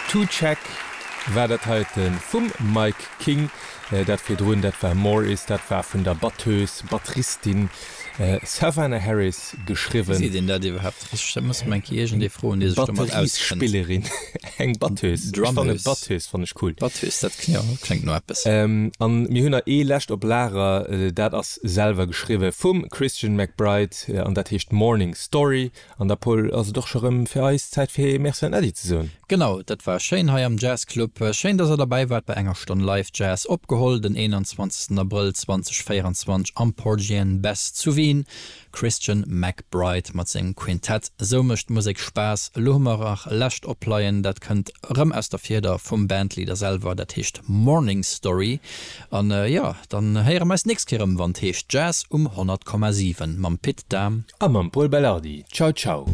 To Check war dat heite vum Mike King. Dat virdrun, dat war More Is, dat war vun der Batteuse, Batteristin Savannah Harris geschriwwen. Wéi seet een dat iwwerhaapt richteg? Dat muss mer eng Kéier iergendee froen, dee sech domat auskënnt. Batteriesspillerin, eng Batteuse. Ech fanne Batteuse fann ech cool. Batteuse, dat kléngt no eppes. An mir hunn nach ee lescht op Lager, dat ass selwer geschriwwe vum Christian McBride an dat heescht Morning Story. An da Paul, ass et och scho rëm fir eis Zäit fir Merci an Äddi ze soen. Genau, dat war schéin hei am Jazz Club. Schéin dass der derbäi waart bei enger Stonn Live Jazz, opgeholl den 21 Abrëll 2024 am Porgy and Bess zu Wien. Christian McBride mat sengem Quintett, esou mécht Musek Spaass. Elo hu mer nach e lescht opleien, dat kënnt erëm aus der Fieder vum Bandleader selwer, dat heescht Morning Story. An jo, dann héiere mer eis d'nächst Kéier erëm, wann et heescht Jazz um 100,7 mam Pit Dahm. A mam Pol Belardi. Ciao ciao.